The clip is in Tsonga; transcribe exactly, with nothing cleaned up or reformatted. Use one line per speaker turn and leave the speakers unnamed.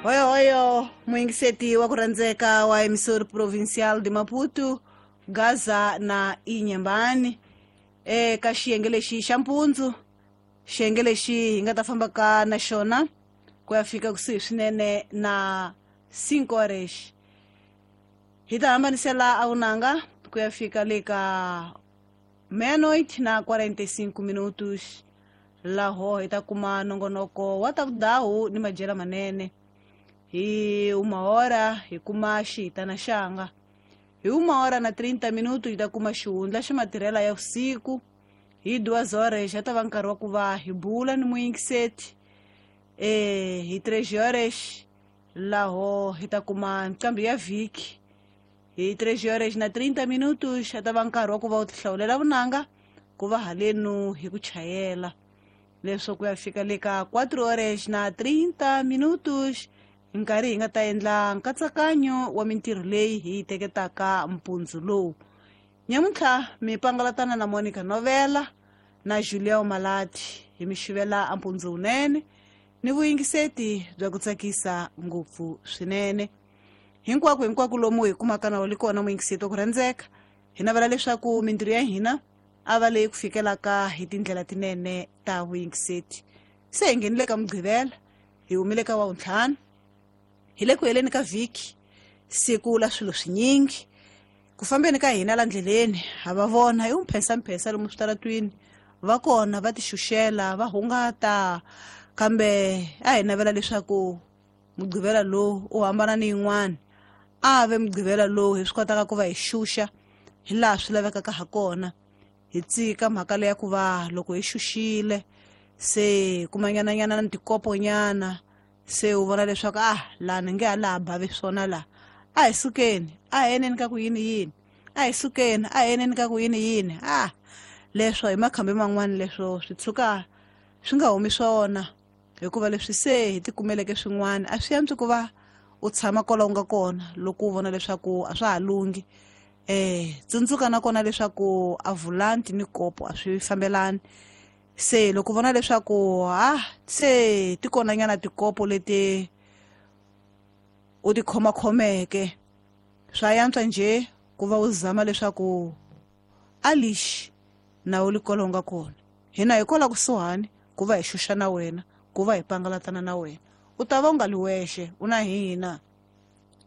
Hoyo hoyo muyingiseti wa ku rhandzeka wa Emissora Provincial de Maputo, Gaza na Inyembani, eka xiyenge lexi xa mpundzu, xiyenge lexi hi nga ta fambaka na xona ku ya fika kusuhi swinene na cinco horas. Hi ta hambanisela a vunanga ku ya fika le ka meia-noite na quarenta e cinco minutos, laho hi ta kuma nongonoko wa ta vudahu ni madyela manene. Hi uma hora hi kuma xihitana xanga. Hi uma hora na trinta minuto hi ta kuma xihundla xa matirhela ya vusiku. Hi duas horas ya ta va nkarhi wa ku va hi bula ni muyingiseti. eh hi três horas laho hi ta kuma nqambi ya vhiki. Hi três horas na trinta minutos ya ta va nkarhi wa ku va u tihlawulela vunanga ku va halenu hi ku chayela leswo ku ya fika le ka quatro horas na trinta minutos, nkarhi hi nga ta endla nkatsakanyo wa mintirho leyi hi yi teketaka mpundzu lowu. Nyamuntlha mi pangalatana na Monica Novela na Juliao Malati, hi mi xivela ampundzu wunene ni vuyingiseti bya ku tsakisa ngopfu swinene. Hinkwako hinkwako lomu hi kumaka na wu li kona muyingiseti wa ku rhandzeka, hi navela leswaku mintirho ya hina a va leyi ku fikelaka hi tindlela tinene ta vuyingiseti. Se hi nghenile ka Mugqivela, hi humile ka Wavuntlhanu, hi le ku heleni ka vhiki, siku la swilo swinyingi. Ku fambeni ka hina la ndleleni ha va vona hi wumphensamphesa lomu switaratwini, va kona va tixuxela va hungata, kambe a hi navela leswaku Mugqivela lowu u hambana ni yin'wana, a ve Mugqivela lowu hi swi kotaka ku va hi xuxa hi laha swi lavekaka ha kona, hi tsika mhaka leya ku va loko hi xuxile se kumanyananyana na tikoponyana, se u vona leswaku ah, laha ni nge ha laha bavi swona laha, a hi sukeni a hi eneni ka ku yini yini, a hi sukeni a hi eneni ka ku yini yini. Ah, leswo hi makhambi man'wani leswo swi tshuka swi nga humi swona, hikuva leswi se hi tikumeleke swin'wana a swi antswi ku va u tshama kwala u nga kona loko u vona leswaku a swa ha lunghi. eh tsundzuka nakona leswaku a volanti ni kopo a swi fambelani. Se loko u vona leswaku ah, se ti kona nyana tikopo leti u ti khomakhomeke, swa yantswa njhe ku va u zama leswaku a lixi na u li kwala u nga kona. Hina hi kola kusuhani ku va hi xuxa na wena, ku va hi pangalatana na wena, u ta va u nga li wexe, u na hina.